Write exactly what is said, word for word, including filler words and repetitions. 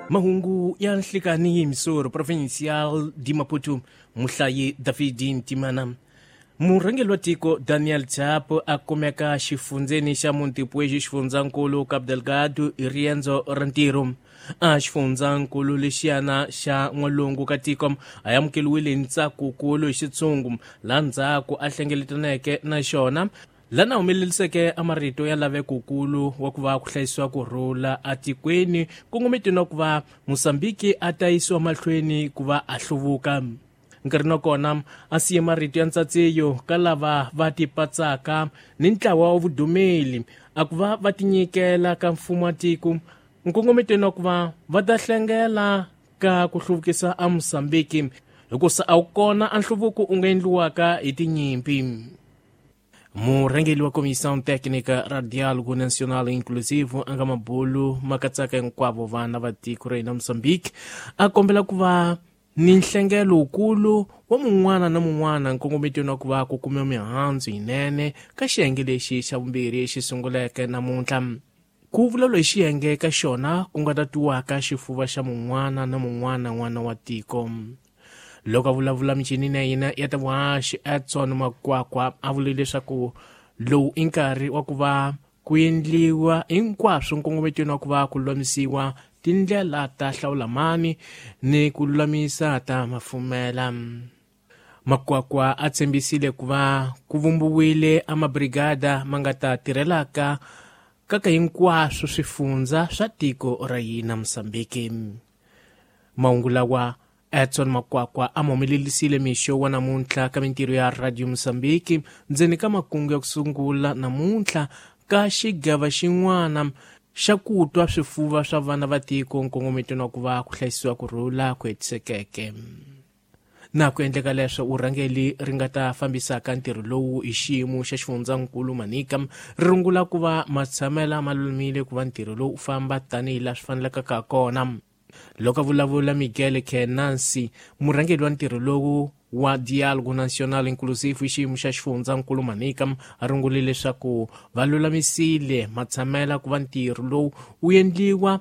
Mahungu ya nhlikani hi Missouri Provincial di Maputo, muhlayi David Ntimana. Murhangeri wa tiko Daniel Chapo a kumeka xifundzeni xa Montepuez, xifundzankulu Cabo Delgado, hi riendzo ra ntirho. A xifundzankulu lexiyana xa n'walungu ka tiko a amukeliwile hi ntsakukulu hi xitshungu, laha ndzhaku a hlengeletaneke na xona, lana humeleliseke a marito ya lavekukulu wa ku va ku hlayisiwa ku rhula atikweni, kongometweni wa ku va Mosambiki a ta yisiwa mahlweni ku va a hluvuka. Nkarhi na kona a siye marito ya ntsatsiyo ka lava va tipatsaka ni ntlawa wa vudumeli a ku va va tinyikela ka mfumo wa tiko, nkongometweni wa ku va va ta hlengela ka ku hluvukisa a Mosambiki, hikusa a wu kona a nhluvuko u nga endliwaka hi tinyimpi. Murhangeri wa Comissão Técnica ra Diálogo Nacional Inclusivo a nga mabulu ma katsaka hinkwavo vana va tiko ra hina Mozambique a kombela ku va ni nhlengelo wukulu wa mun'wana na mun'wana nkongometweni wa ku va ku kumiwa mihandzu yinene ka xiyenge lexi xa vumbirhi xi sunguleke namuntlha. Ku vulavula hi xiyenge ka xona ku nga tatiwaka xifuva xa mun'wana na mun'wana n'wana wa tiko. Loko a vulavula michinini ya hina ya ta vuhaxi, Edson Makwakwa a vule leswaku lowu i nkarhi wa ku va ku endliwa hinkwaswo nkongometweni wa ku va ku lulamisiwa tindlela ta hlawula mani ni ku lulamisa ta mafumela. Makwakwa a tshembisile ku va ku vumbiwile a mabrigada ma nga ta tirhelaka kaka hinkwaswo swifundza swa tiko ra hina Mosambiki. Mahungu lawa Edson Makwakwa a ma humelelisile mixo wa namuntlha ka mintirho ya Radio Mosambiki ndzeni ka makungu ya ku sungula namuntlha ka xigava xin'wana xa ku twa swifuva swa vana va tiko nkongometweni wa ku va ku hlayisiwa ku rhula ku hetisekeke. Na ku endleka leswo vurhangeri ri nga ta fambisaka ntirho lowu hi xiyimo xa xifundzankulu Manica ri rungula ku va matshamela ma lulamile ku va ntirho lowu u famba tanihi laha swi fanelekaka kona. Loko a vulavula Miguel Kenansi, murhangeri wa ntirho lowu wa Diálogo Nacional Inclusivo hi xiyimo xa xifundzankulu Manica, a rungule leswaku va lulamisile matshamela ku va ntirho lowu wu endliwa